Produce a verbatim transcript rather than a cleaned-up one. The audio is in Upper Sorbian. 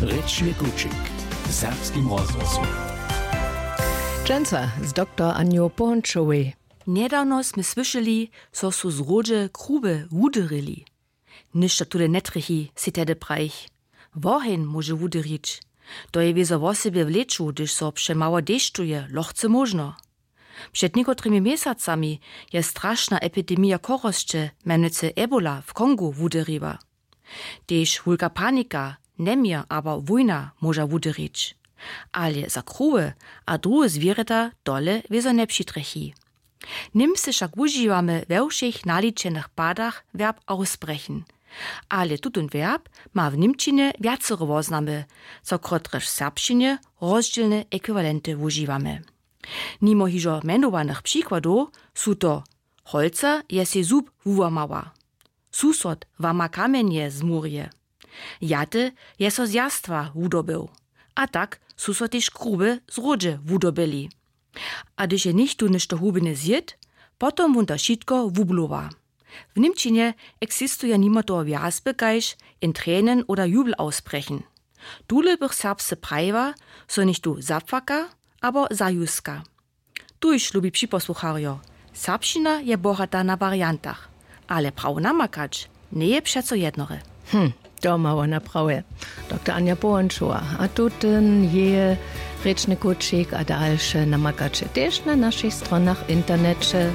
Rěčny kućik w serbskim rozhłosu. Dźensa z doktor Anjo Połąčowej. Njedawno smy słyšeli, zo su zrodźe kruby wudyryli. Něšto tule njetrjechi, sej tehdy prajich. Woheń móže wudyrić. To je wězo wosebje w lěću, hdyž so přemało dešćuje, lochce móžno. Před někotrymi měsacami je strašna epidemija chorosće, mjenujcy Ebola, w Kongu wudyriła. Tež wulka panika, njeměr abo wójna móža wudyrić. Ale za kruwy a druhe zwěrjata tole wězo njepřitrjechi. Němsce wšak wužiwamy we wšěch naličenych padach verb ausbrechen. Ale tutón verb ma w Němčinje wjacere woznamy, zo kotrež w serbšćinje rozdźělne ekwiwalenty wužiwamy. Nimo hižo mjenowanych přikładow su to: Holca je sej zub wułamała. Susod wama kamjenje zmurje. Jaty je so z jastwa wudobył. A tak su so tež kruby zrodźe wudobyli. A hdyž je něchtó něšto hubjene zjěd, potom wón to wšitko wublowa. W Němčinje eksistuje nimo toho wjazby kaž Entrenen oder Jubelausbrechen. Tule bych serbsce prajiła, zo něchtó zapłaka abo zajuska. Tuž, lubi připosłucharjo, serbšćina je bohata na wariantach, ale prawo namakać njeje přeco jednore. Hm, to ma wona prawje. Doktor Anja Połąčowa, a tutón jeje rěčny kućik a dalše namakaće tež na našich stronach w interneće.